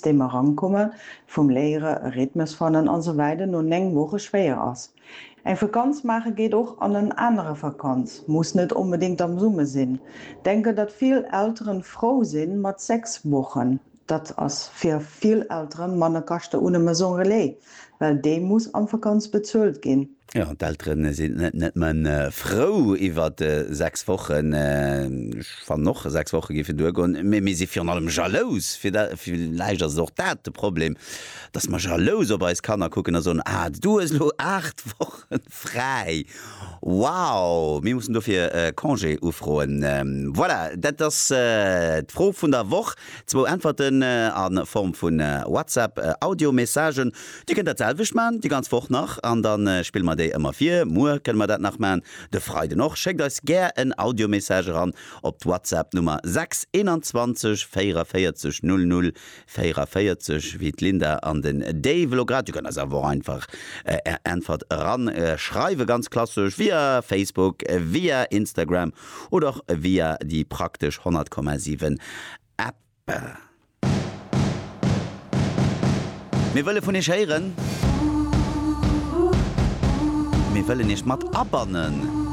System erankomme vum Léiere, e Rhythmus fannen an esou weider no 9 Woche schwéier ass. Eng Vakanz maache geet och an en anere Vakanz, muss net onbedéngt am Summer sinn. Denke datt vill Elteren frou sinn mat 6 Wochen. Dat ass fir vill Elteren manner Kaschte un e Maison Relais, well déi muss am Vakanz bezuelt ginn. Jo, d'Elteren sinn net nëmmen frou iwwer 6 Wochen, ech fannen och 6 Woche géifen duergoen, mee mir si virun allem jalous. Villäicht ass et och dat de Problem, dass mer jalous op eis Kanner kucken a soen, ah du hues elo 8 Woche fräi, wow, mir mussen dofir Congé ufroen. Voilà, dat ass d'Fro vun der Woch. Zwou Äntwerten a Form vu WhatsApp-Audio-Messagen. Dir kënnt dat selwecht man, déi ganz Woch nach, an da spille mer déi ëmmer vir. Muer kënne mer dat nach man, de Freiden och. Schéckt eis gär en Audio-Message eran op d'Whatsapp-Nummer 6 21 44 00 44, wéi d'Linda an den Dave elo grad. Dir kënnt eis awer och einfach Är Äntwert eran schreiwen, ganz klassesch via Facebook, via Instagram oder och via déi praktesch 100,7 App. Mir wëlle vun iech héieren. Mir wëllen iech mat abannen.